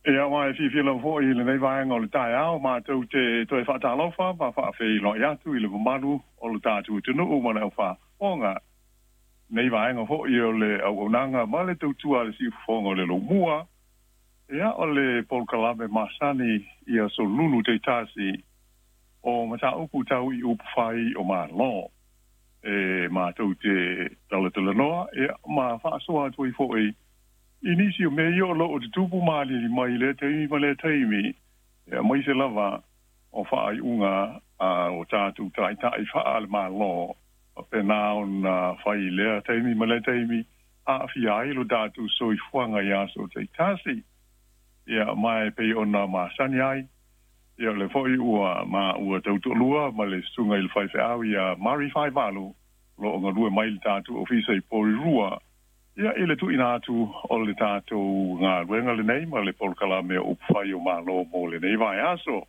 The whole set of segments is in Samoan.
Ia ma e fiafia lava foi i lenei vaega o le taeao matou te toe faatalofa ma faafeiloai atu i le mamalu o le tatou atunuu ma le aufaafofoga. Nei vaega foi o le auaunaga ma le tautua a le siufofoga o le lomua, ia o le polokalame masani i aso lulu taitasi o mataupu tau i upufai o Malo. E matou te talatalanoa ia ma faasoa atu ai foi i nisi o mea ia o lo o tutupu ma aliali mai i lea taimi ma lea taimi, aemaise lava o faaiuga a o tatou taitai faale-Malo faapena ona fai i lea taimi ma lea taimi, aafia ai lo tatou soifuaga i aso taitasi. Ia, ma e pei ona masani ai, ia o lea foi ua maua tautoalua ma le susuga i le faifeau ia Murray Faivalu, o lo o galue mai i le tatou ofisa i Porirua, ia i le tuuina atu o le tatou galuega lenei ma le polokalame o upufai o Malo mo lenei vaiaso.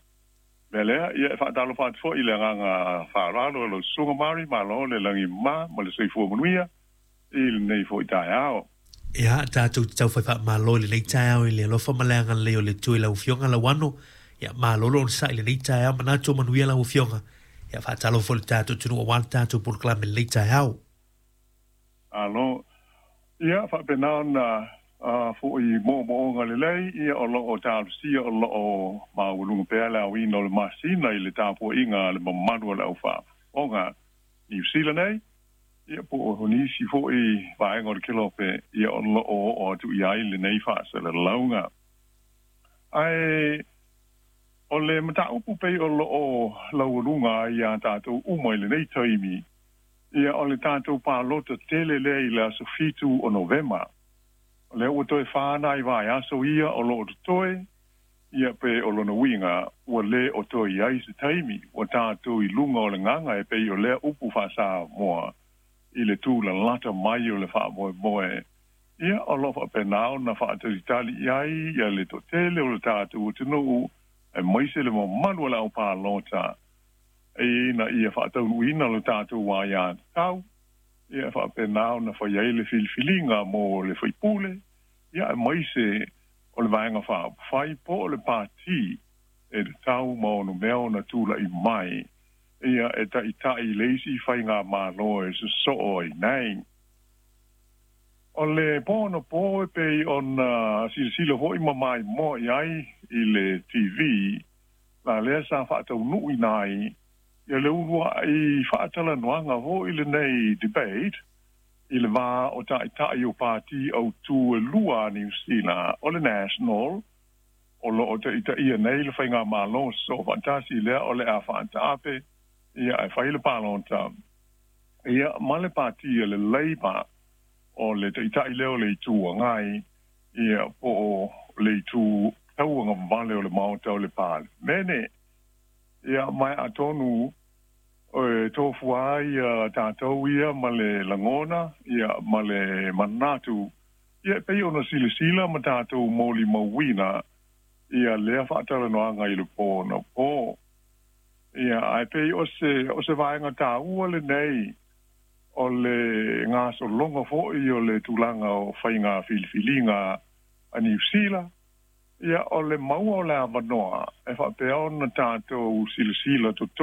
Mea lea, ia e faatalofa atu foi i le agaga faaaloalo i lau susuga Murray, malo le lagi ma ma le soifua manuia i lenei foi taeao. Ia, tatou te taufai faamalo i lenei taeao i le alofa ma le agalelei o le Atua i lau Afioga Lauano. Ia, malo le onosai i lenei taeao, manatu o manuia lau Afioga. Ia, faatalofa foi i le tatou atunuu aua le tatou polokalame i lenei taeao. Malo. Ia, faapena ona foi moomooga lelei, ia o lo o talosia o lo o maualuga pea le aoina o le masina i le tapuaiga a le mamalu o le aufaafofoga Niu Sila nei, ia po o nisi foi vaega o le kelope, ia o lo o oo atu i ai lenei faasalalauga. Ae o le mataupu pei o lo o laualuga ai iā tatou uma i lenei taimi, Ia, o le tatou palota tele lea i le aso 7 o Novema. O lea ua toe fa nai vaiaso ia o lo o totoe, ia pe o lona uiga ua le o toe i ai se taimi, ua tatou i luga o le gaga e pei o lea upu faa-Samoa i le tūlalata mai o le faamoemoe. Ia, o lo o faapena ona faatalitali i ai ia le toatele o le tatou atunuu, aemaise le mamalu o le au palota. Ina ia faataunuuina lo tatou aiatatau, ia e faapena ona fai ai le filifiliga mo le faipule, ia aemaise o le Vaega Faaupufai po o le Pati e tatau ma ono mea ona tulai mai, ia e taitai i le isi faigamalo e sosoo ai nei. O le po anapo e pei ona silasila foi ma maimoa i ai i le TV, la lea sa faataunuuina ai ia le uluai faatalanoaga foi lenei debate i le va o taitai o pati autū e lua a Niu Sila, o le National, o lo o taitaia nei le faigamalo soofaatasi lea o le a faataape ia ae fai le palota, ia ma le pati a le Labour, o le taitai lea o le Itu Agai, ia po o le itu tauagavale o le Maota o le Palemene. Ia, ma atonu e tofua ai ia tatou ia ma le lagona, ia ma le manatu, ia e pei ona silasila ma tatou molimauina ia lea faatalanoaga i le po anapo. Ia, ae pei o se vaega taua lenei o le gasologa foi o le tulaga o faiga filifiliga a Niu Sila, ia o le maua o le avanoa e faapea ona tatou silasila totoa.